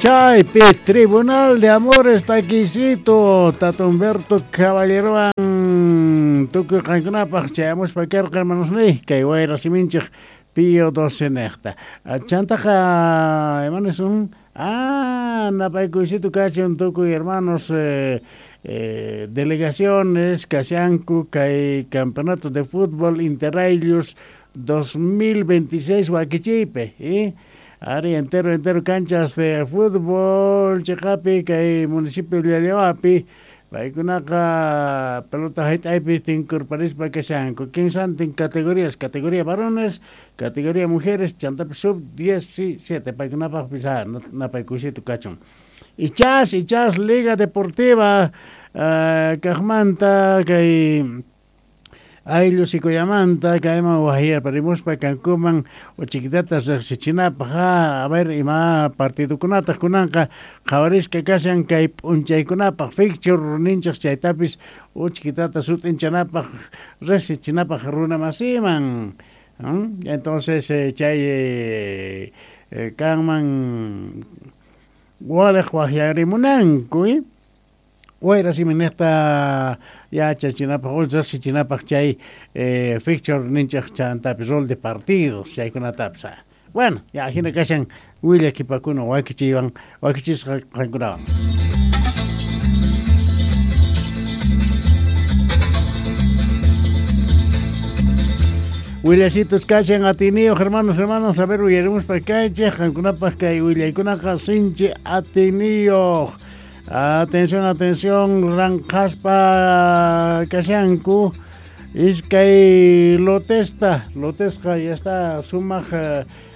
Chaypi Tribunal de Amores takiysito Tata Humberto Caballerowan tukuy qankunapaj chayamuspa karqa hermanosniy kay wayra siminchej Pío XII nejta. Chantaqa hermanos napaykuysito kachun tukuy hermanos delegaciones kashanku kay campeonato de fútbol Interrailios 2026 wakichiypi Ari entero entero canchas de fútbol cheqapi kay municipio Llallawapi paykunaqa pelota hayt'aypi tinkurparispa kashanku kinsantin categorías, categoría varones, categoría mujeres, chantapis sub 17 paykunapaqpis napaykuysito kachun. Ichas ichas Liga Deportiva kaqmanta kay ayllu Sicuyamanta kayman wajyarparimuspa kankuman uchikitata riqsichinapaq a ver ima partidokunataq kunanqa qhawarisqa kashan kay p'unchaykunapaq fixture ninchej chaytapis uchikitata sut'inchanapaq riqsichinapaq runa masiman. Entonces chay kanman waliq wajyarimunanku wayra simi nejta yachachinapaq o riqsichinapaq chay fixture ninchej chantapis rol de partidos chaykunatapis. Bueno, ya hina kashan willakipakuna wakichiywan wakichisqa qankunawan. Willasitos kashan atiniyuq hermanos, hermanas, a ver uyarimuspa kaychej qankunapaq kay willaykunaqa sinchi atiniyuq. Atención, atención, ranqaspa kashanku iskay lotesta, lotesqa ya está sumaq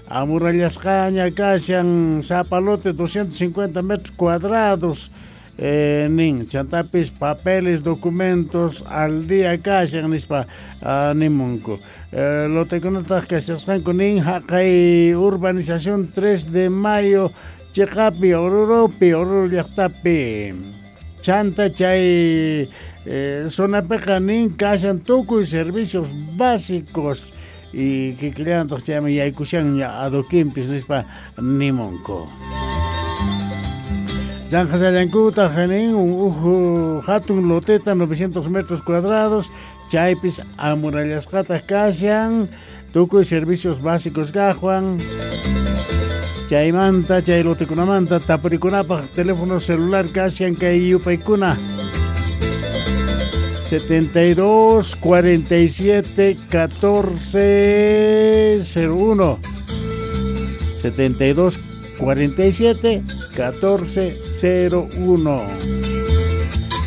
amurallasqaña kashan sapa lote 250 metros cuadrados nin chantapis papeles, documentos al día kashan nispa nimunku. Lotekunataq kashasqanku nin haqay urbanización 3 de mayo cheqapi, Oruropi, Oruro llaqtapi. Chanta chay zonapiqa nin kashan tukuy servicios básicos y kikillantaq chayman yaykushanña adoquinpis nispa nimunku. Llanqasallankutaq nin uj hatun loteta 900 metros cuadrados chaypis amurallasqataq kashan tukuy servicios básicos kaqwan. Chaymanta, chay lotekunamanta tapurikunapaq teléfono celular kashan kay yupaykuna 72 47 14 01 72 47 14 01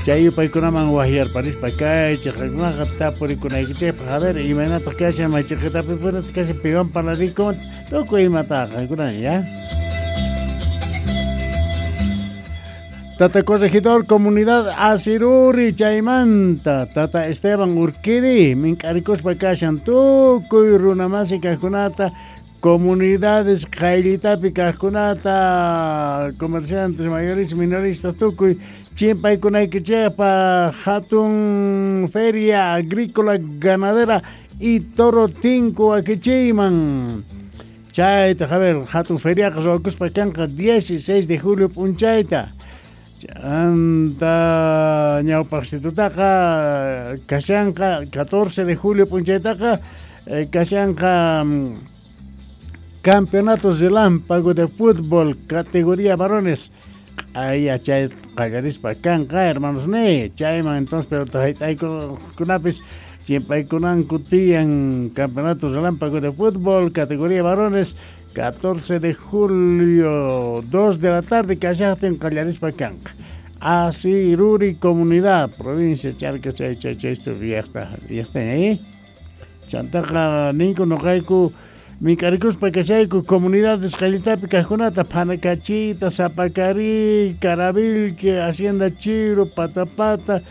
Chay yupaykunaman wajyarparispa kay chaykunaqa tapurikunaykichikpaq a ver imaynataq kashan maychiqitapi kashan piwan parlarikun tukuy imataqa qankuna ya. Tata Corregidor Comunidad Asiruri chaymanta Tata Esteban Urquidi mink'arikuspa kashan tukuy runamasi kaqkunata comunidades qayllitapi kaqkunata comerciantes mayoristas minoristas tukuy chimpaykunaykichikpaq hatun feria agrícola ganadera y toro tinku wakichiyman. Chayta a ver hatun feriaqa ruwakuspa kanqa 16 de julio p'unchayta. Chanta ñawpaqsitutaqa kashanqa 14 de julio p'unchaytaqa kashanqa campeonatos relámpago de fútbol categoría varones. Q'aya chay qallarispa kanqa hermanos ni chayman entonces pero hayt'aykunapis chimpaykunanku tiyan campeonatos relámpago de fútbol categoría varones 14 de julio 2 de la tarde kashaqtin qallarispa kanqa. Asiruri comunidad provincia Charcas chay chay chay esto ya está ahí. Chantaqa ninku noqayku mink'arikuspa kashayku comunidades qayllitapi kaqkunata Phanacachita, Zapacarí, Caravilque, Hacienda Chiro, Patapata,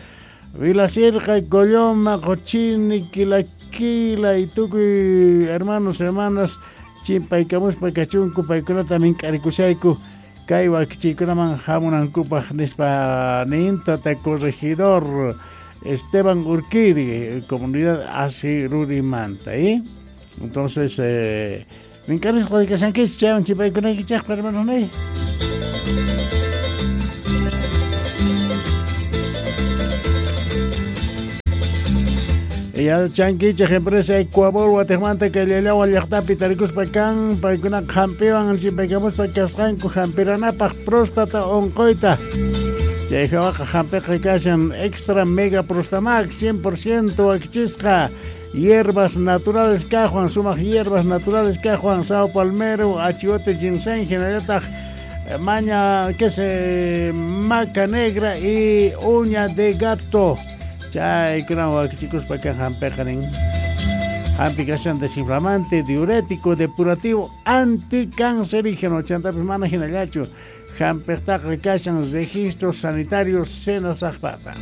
Vilasirqa, Colloma, Qochini, Quilaquila y tukuy hermanos, hermanas chimpaykamuspa kachunku paykunata mink'arikushayku kay wakichiykunaman hamunankupaq nispa nin Tata Corregidor Esteban Urquidi, comunidad Asirurimanta, ¿eh? Entonces, mink'arisqa kashankichik chaywan chimpaykunaykichikpaq hermanos ni. Yachankichej empresa Ecuabol watejmanta kay Llallagua llajtapi tarikuspa kan, paykunaqa jampiwan chimpaykamuspa kasqanku jampiranapaj próstata onqoyta. Chay jawaqa jampiqa kashan extra mega prostamax 100% wakichisqa hierbas naturales kajwan, sumaj hierbas naturales kajwan, sao palmero, achiote, ginseng, jinallataj maña que se maca negra y uña de gato. Chaykunawan wakichikuspa kan jampiqa nin. Jampi kashan desinflamante, diurético, depurativo, anticancerígeno. Chantapis mana jinallachu. Jampiqtaqa kashan registro sanitario Senasajpata.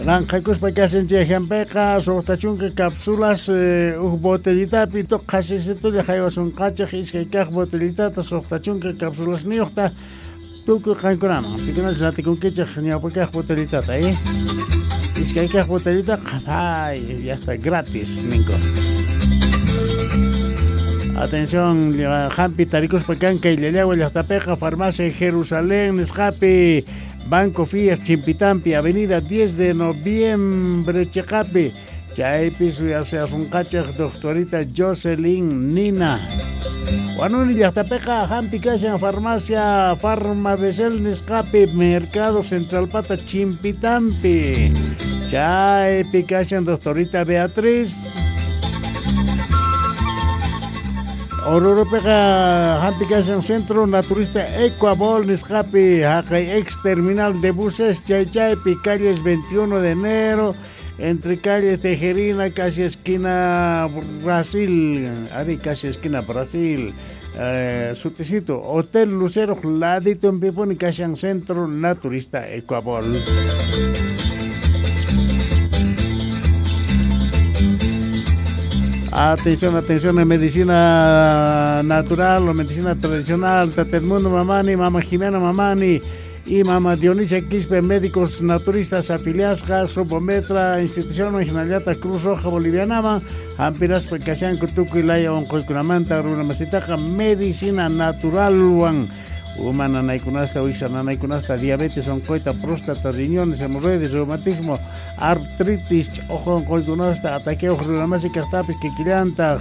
Ranqhakuspa kashan chay jampiqa suqta chunka cápsulas uj botellitapi qhasisitulla haywasunqachej iskay kaq botellitata suqta chunka cápsulasniyuqta tukuy qankunaman. Pikunachus atikunkichej ñawpa kaq botellitata, Iskay kaq botellita, ay, ya está gratis, ninko. Atención, jampi tarikuspa kan kay Llallagua llajtapiqa, farmacia Jerusalén nisqapi, Banco Fiat Chimpitampi, Avenida 10 de Noviembre chiqapi. Chaypi suyasunqachej doctorita Jocelyn Nina. Huanuni llajtapiqa jampi kashan farmacia Farmabesel nisqapi, Mercado Central Pata Chimpitampi. Chaypi kashan doctorita Beatriz. Oruropiqa jampi kashan Centro Naturista Ecuabol nisqapi, haqay ex terminal de buses chay chaypi, calles 21 de enero, entre calle Tejerina, casi esquina Brasil, ari casi esquina Brasil, suticito, Hotel Lucero, ladito en Piponi, kashan Centro Naturista Ecuabol. Atención, atención en medicina natural o medicina tradicional, Tata Edmundo Mamani, Mama Jimena Mamani y Mama Dionisia Quispe, médicos naturistas afiliadas, Sopometra, Institución Originalata Cruz Roja Boliviana, Jampiraspa kashanku tukuy laya onqoykunamanta runamasitaqa medicina naturalwan, uma nanaykunasta, wiksa nanaykunasta, diabetes onqoyta, próstata, riñones, hemorroides, reumatismo, artritis, ojo onqoykunasta, ataque runamasi kaqtapis kikillantaj,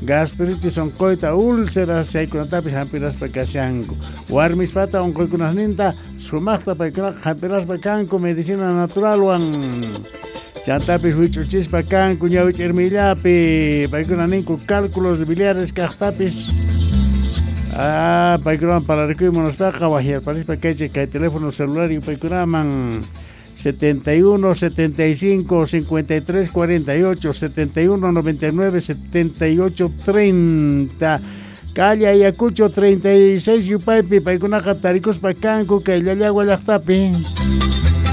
gastritis onqoyta, úlceras, chaykunatapis jampiraspa kashanku. Warmispata onqoykunasninta sumaqta paykunaqa jampiraspa kanku medicina naturalwan. Chantapis wich'uchispa kanku ñawich'irmillapi, paykuna ninku cálculos biliares kaqtapis. Paykunaman parlarikuy munaspaqa wajyarparispa kaychik kay teléfono celular yupaykunaman 71 75 53 48 71 99 78 30. Calle Ayacucho 36 yupaypi paykunaqa tarikuspa kanku kay Llallagua llajtapi.